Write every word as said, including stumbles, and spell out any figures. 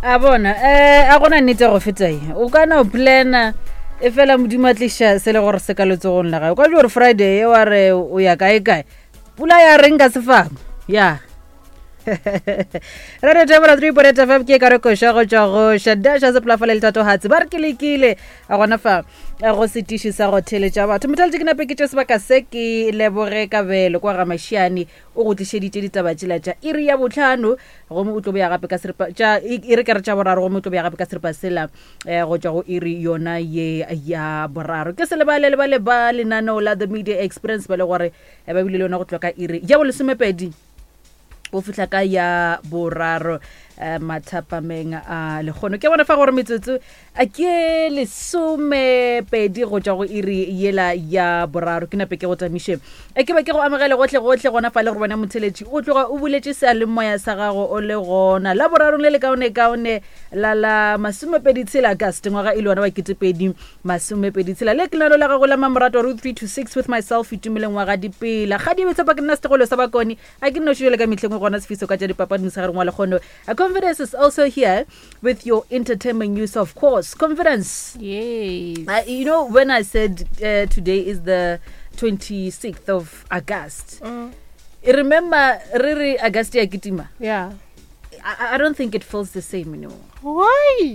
A bona, um a gona nnete go feta e o ka na o plana e fela Modimo a tliša se le gore se ka letsogong la gae. O ka jo gore Friday e wa re o ya kae kae, pula ya reng ka sefako ya Radio Thebola three point eight F M. Ke ka re koša go tšwa go Shadasha Sepolafale le Thatohatsi, ba re ke lekile a gona fa eh, go setiši sa go theletša batho mothaletše. Ke nape ke tše sebaka se ke leboge Kabelo kwa ga Mašiane, o go tlišeditše ditaba tšela tša iri ya botlhano, gomme o tlo boya gape ka seripa tša e re ke re tša boraro, gomme o tlo boya gape ka seripa sela um go tšwa go iri yona ye ya boraro. Ke se lebale lebale ba lenaneo la The Media Experience ba le gore eh, ba bile le yona go tloga ka iri ya bolesomepedi go fihla ka ya boraro um mathapameng a lekgono. Ke bona fa gore metsotso a ke lesomepedi go tšwa go iri yela ya boraro. Ke nape ke go tamiše, e ke be ke go amogele gotlhe gotlhe gona fa le gore bona motheletši o tloga o buletše sealemoya sa gago o le gona la borarong le le kaone-kaone la la masomepedi tshela August, ngwaga e le yona wa ketepedi masomepedi tshela. Le ke lenano la gago la Mamorato ro three to six with myself, Itumeleng wa ga Dipela ga di betshepa. Ke nna setegolo sa Bakone, a ke nno šojele ka mehleng gona sefiso ka tša dipapadi mosegareng wa lekgono. A Confidence is also here with your entertainment news, of course. Confidence. Yes. Uh, you know, when I said uh, today is the twenty-sixth of August, Mm. remember, Riri, August ya kitima. Yeah. I, I don't think it feels the same anymore. Why?